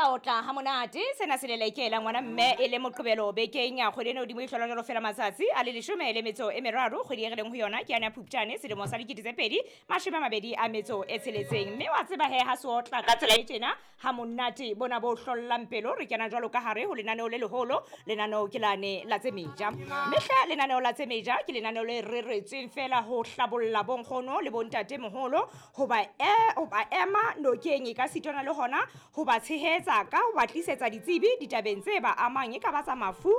Sa otla ha monate sena se lelekela ngwana mme e le Moqebelo bekeng ya kgwedi eno hodimo e hlola jwalo fela matsatsi a le 13 kgwedi e re leng ho yona ke yane ya Phupjane selemo sa 2026. Mme wa tseba he ha se otla ka tsela e tjena ha monate bona bo hlollang pelo, re kena jwalo ka hare ho lenaneo le leholo. Lenaneo ke lane la tse meja, mme hle lenaneo la tse meja ke lenaneo le reretsweng fela ho hlabolla bonkgono le bontate moholo, hoba hoba ema nokeng e ka sitwana le hona ho ba tshehetsa ka ho ba tlisetsa ditsebi ditabeng tse ba amang, e ka ba tsa mafu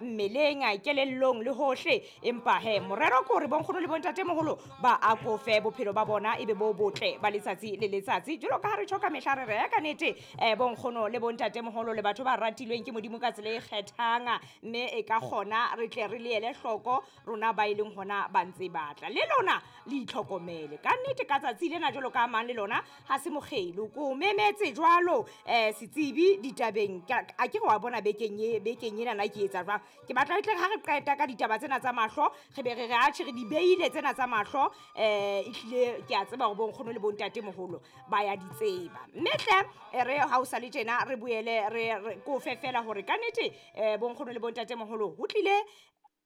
mmeleng, kelellong le hohle. Empa he morero ke hore bonkgono le bontate moholo ba akofe bophelo ba bona ebe bo botle ba letsatsi le letsatsi. Jwalo ka ha re tjho ka mehla re re ka nnete bonkgono le bontate moholo le batho ba ratilweng ke Modimo ka tsela e kgethang, mme e ka kgona re tle re le ele hloko rona ba e leng hona ba ntse batla le lona le itlhokomele ka nnete ka tsatsi lena. Jwalo ka mang le lona ha se mokgelo ko memetse jwalo setsebi ditabeng a ke re wa bona bekeng e bekeng ena na ke etsa jwang. Ke batla tle ha re qeta ka ditaba tsena tsa mahlo re be re re atjhe re di beile tsena tsa mahlo, ehlile ke a tseba hore bonkgono le bontate moholo ba ya di tseba. Mme hle re ha o sa le tjena re boele re ko fe fela hore ka nnete bonkgono le bontate moholo ho tlile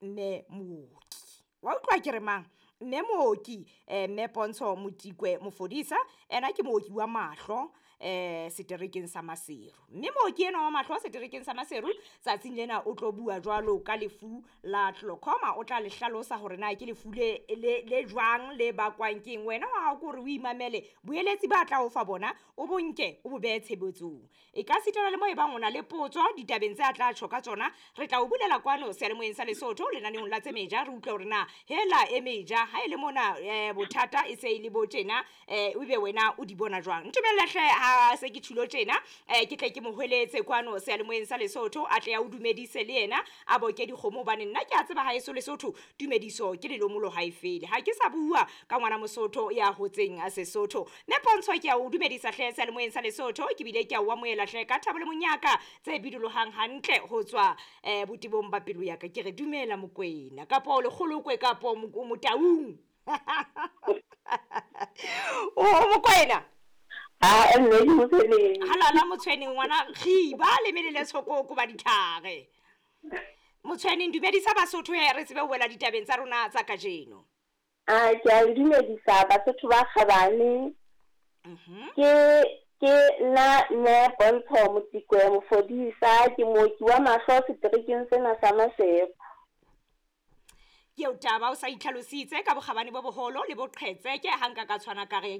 mme mooki wa utlwa ke re mang, mme mooki mme Pontsho Motikwe Mofodisa. Ena ke mooki wa mahlo seterekeng sa Maseru, mme mooki enwa wa mahlo seterekeng sa Maseru tsatsing lena o tlo bua jwalo ka lefu la glaucoma. O tla le hlalosa hore na ke lefu le jwang le bakwang keng. Wena wa hao ke hore o imamele boeletsi ba tla o fa bona, o bonke o bo behe tshebetsong. E ka sitana le mo e bang o na le potso ditabeng tse a tla tjho ka tsona, re tla o bulela kwano seyalemoyeng sa Lesotho lenaneong la tse meja, re utlwe hore na hela e meja ha e le mona bothata e se e le bo tjena, ebe wena o di bona jwang. Ntumelle hle ha se ke tjhulo tjena, ke tle ke mo hweletse kwano seyalemoyeng sa Lesotho a tle a o dumedise le yena a boke dikgomo, hobane nna ke a tseba haeso Lesotho tumediso ke lelomolo ha e fele. Ha ke sa bua ka ngwana Mosotho ya hotseng Sesotho. Mme Pontsho ke a o dumedisa hle seyalemoyeng sa Lesotho, ke bile ke a o amohela hle ka thabo le monyaka tse bidolohang hantle ho tswa botebong ba pelo ya ka. Ke re dumela Mokwena kapo lekgolokwe kapo Motaung. O Mokwena a mme ke Motshweneng. Halala Motshweneng ngwana khiba le melele tshokoko ba ditlhare. Motshweneng dumedisa Basotho he re tsebe ho wela ditabeng tsa rona tsa kajeno. A ke a le dumedisa Basotho ba kgabane. Ke nna mme Pontsho Motikwe Mofodisa, ke mooki wa mahlo seterekeng sena sa Maseru. Ke eo taba o sa itlhalositse ka bokgabane bo boholo le boqhetseke ha nka ka tshwana ka re